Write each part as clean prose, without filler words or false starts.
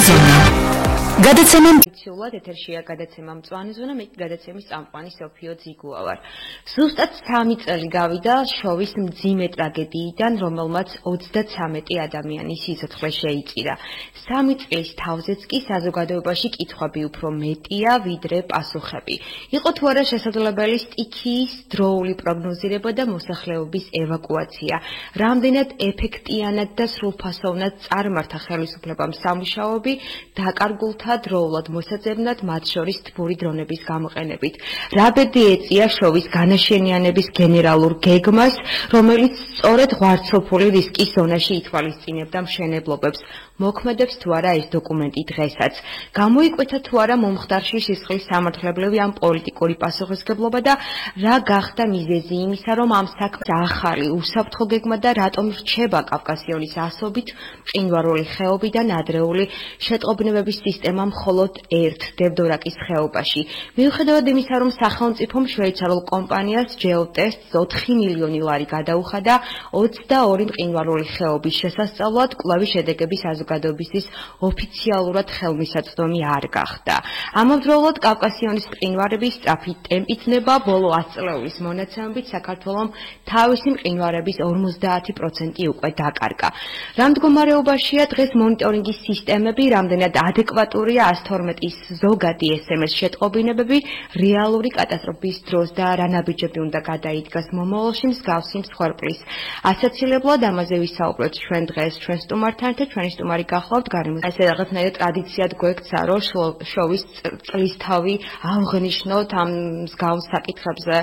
ზონა. გადაცემა მცულა ეთერშია გადაცემა მწვანე ზონა, მე გადაცემის წამყვანი სოფიო ძიგუა ვარ. ზუსტად 3 წელი გავიდა შოვის მძიმე ტრაგედიიდან, რომელმაც 33 ადამიანის სიცოცხლე შეიწირა. 3 წლის თავზეც კი საზოგადოებაში კითხვები უფრო მეტია, ვიდრე პასუხები. იყო თუ არა შესაძლებელი სტიქიის დროული პროგნოზირება და მოსახლეობის ევაკუაცია. რამდენად ეფექტიანად და სრულფასოვნად წარმართა ხელისუფლებამ სამუშაოები დაკარგულთა დროულად მოსაძებნად, მათ შორის თბური დრონების გამოყენებით. რა ბედი ეწია შოვის განაშენიანების გენერალურ გეგმას, რომელიც სწორედ ღვარცოფული რისკის ზონაში ითვალისწინებდა მშენებლობებს. მოქმედებს თუ არა ეს დოკუმენტი დღესაც. გამოიკვეთა თუ არა მომხდარში სისხლის სამართლებრივი ან პოლიტიკური პასუხისმგებლობა და რა გახდა მიზეზი იმისა, რომ ამ საქმეს ახალი უსაფრთხო გეგმა და რატომ რჩება კავკასიონის ასობით მყინვარული ხეობიდან ადრეული შეტყობინებების სისტემა მხოლოდ ერთ დევდორაკის ხეობაში. მიუხედავად იმისა, რომ სახელმწიფომ შვეიცარიულ კომპანიას GeoTest 4 მილიონი ლარი გადაუხადა 22 მყინვარული ხეობის შესასწავლად, კვლევის შედეგების საზოგადოებისთვის ოფიციალურად ხელმისაწვდომი არ გახდა. ამავდროულად კავკასიონის მყინვარების სწრაფი ტემპით ნება, ბოლო 100 წლების მონაცემებით საქართველომ თავისი მყინვარების 50% უკვე დაკარგა. რა მდგომარეობაშია დღეს მონიტორინგის სისტემები, რამდენად ადეკვატურია 112-ის ზოგადი SMS შეტყობინებები, რეალური კატასტროფის დროს და რა ნაბიჯები უნდა გადაიდგას მომავალში მსგავსი მსხვერპლის ასაცილებლად, ამაზე ვისაუბროთ ჩვენ დღეს ჩვენ სტუმართან და ჩვენი სტუმარი გახლავთ გარემოს. ესე რაღაცნაირად ტრადიციად გვექცა, რომ შოვის წლისთავი აღნიშნოთ ამ მსგავს საკითხებზე,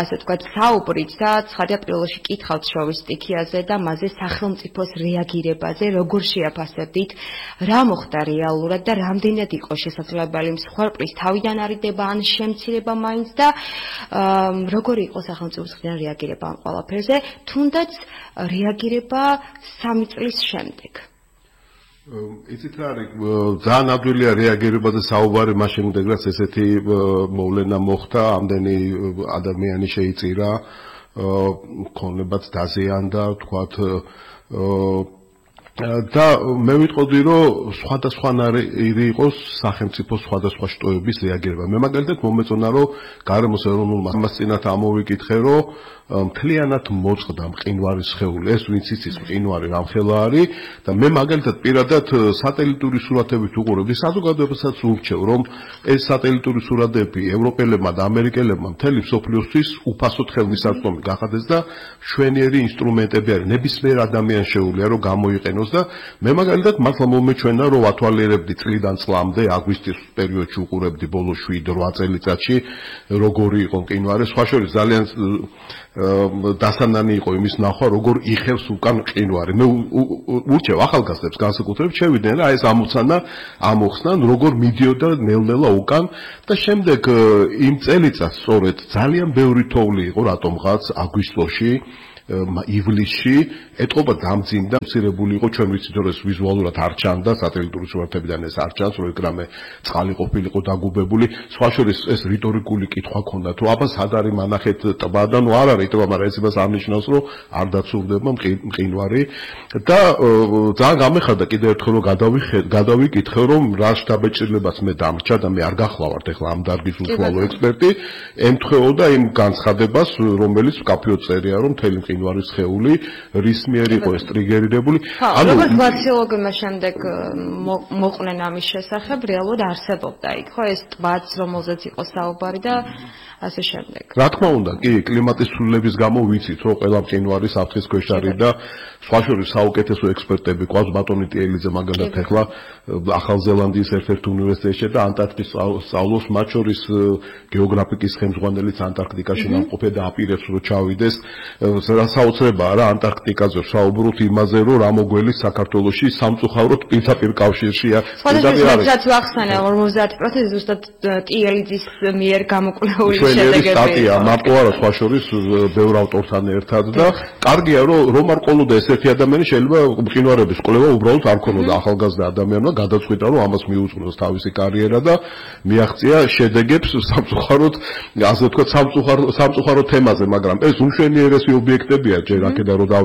ასე ვთქვათ, საუბრით და ცხადია პირველში კითხავთ შოვის სტიქიაზე და მასზე სახელმწიფოს რეაგირებაზე, როგორ შეაფასებდით, რა მოხდა რეალურად და რამდენად იყო შესაძლებელი მსხვერპლის თავიდან არიდება ან შემცირება მაინც და როგორი იყო სახელმწიფოს მხრიდან რეაგირება ამ ყველაფერზე, თუნდაც რეაგირება 3 წლის შემდეგ. იცით რა არის, ძალიან ადვილია რეაგირება და საუბარი მას შემდეგ, რაც ესეთი მოვლენა მოხდა, ამდენი ადამიანი შეიწირა, ქონებაც დაზიანდა, თქვათ და მე ვიტყოდი, რომ სხვადასხვანაირი იყოს სახელმწიფოს სხვადასხვა შტოების რეაგირება. მე მაგალითად მომეწონა, რომ გარემოს ეროვნულმა მასწინათ ამოვიკითხე, რომ მთლიანად მოწყდა მყინვარის სხეული, ეს ვინც იცის მყინვარი რამხელა არის და მე მაგალითად პირადად სატელიტური სურათებით უყურებდი, საზოგადოებასაც ურჩევ, რომ ეს სატელიტური სურათები ევროპელებმა და ამერიკელებმა მთელი მსოფლიოსთვის უფასოდ ხელმისაწვდომი გახადეს და მშვენიერი ინსტრუმენტები არის, ნებისმიერ ადამიანს შეუძლია რომ გამოიყენოს და მე მაგალითად მართლა მომეჩვენა, რომ ვათვალიერებდი წლიდან წლამდე, აგვისტის პერიოდში უყურებდი ბოლო 7-8 წელიწადში, როგორი იყო მყინვარი, სხვა შორის ძალიან დასანანი იყო იმის ნახვა, როგორ იხევს უკან მყინვარი. მე ურჩევ ახალგაზრდებს განსაკუთრებით შევიდნენ რა ეს ამოცანა ამოხსნან, როგორ მიდიოდა ნელ-ნელა უკან და შემდეგ იმ წელიწადს სწორედ ძალიან ბევრი თოვლი იყო რატომღაც აგვისტოში, ივლისში ეტყობა დამძიმდა, მცირებული იყო, ჩვენ ვიცით რომ ეს ვიზუალურად არ ჩანდა, სატელიტური სურათებიდან ეს არ ჩანს, რომ ეგრამე წყალი ყოფილიყო დაგუბებული, სხვა შორის ეს რიტორიკული კითხვა ქონდა, თუ აბა სად არის მანახეთ ტბა და ნუ არ არის ტბა, მაგრამ ეს იმას არ ნიშნავს, რომ არ დაცურდება მყინვარი და ძალიან გამეხარდა კიდევ ერთხელ რომ გადავიკითხე, რომ რა შთაბეჭდილებას მე დამრჩა და მე არ გახლავართ ახლა ამ დარგის უშუალო ექსპერტი, ემთხვეოდა იმ განცხადებას, რომელიც ვკაფიოდ წერია, რომ მთელი მყინვარის სხეული რის მიერ იყო ეს ტრიგერირებული. ანუ როგორც გლაციოლოგებმა შემდეგ მოყვნენ ამის შესახებ, რეალურად არსებობდა იქ, ხო, ეს ტბაც, რომელზეც იყო საუბარი და ასე შემდეგ. რა თქმა უნდა, კი, კლიმატის ცვლილების გამო ვიცით, რომ ყველა მყინვარი საფრთხის ქვეშ არის და სხვა შორის საუკეთესო ექსპერტები ყავს, ბატონი ტიელიძე მაგალითად ახლა ახალ ზელანდიის ერთ-ერთ უნივერსიტეტში და ანტარქტიკის სწავლობს, მათ შორის გეოგრაფიკის ხელმძღვანელიც ანტარქტიკაში ნამყოფია და აპირებს რომ ჩავიდეს. საოცრებაა რა ანტარქტიკაზე საუბრობთ იმაზე, რომ რა მოგველის საქართველოში სამწუხაროდ პირდაპირ კავშირშია. სხვადასხვასაც ვახსენე 50% ზუსტად ტიელიძის მიერ გამოკვლეული შედეგები. სტატია მარტო არა, სხვა შორის ბევრ ავტორთან ერთად და კარგია რომ არ ყოლოდა ესეთი ადამიანი შეიძლება მყინვარების კვლევა უბრალოდ არ ქონოდა ახალგაზრდა ადამიანმა გადაწყვიტა რომ ამას მიუძღვნოს თავისი კარიერა და მიაღწია შედეგებს სამწუხაროდ ასე ვთქვათ სამწუხარო თემაზე, მაგრამ ეს უმშვენიერესი ობიექტებია ჯერ აქედან რომ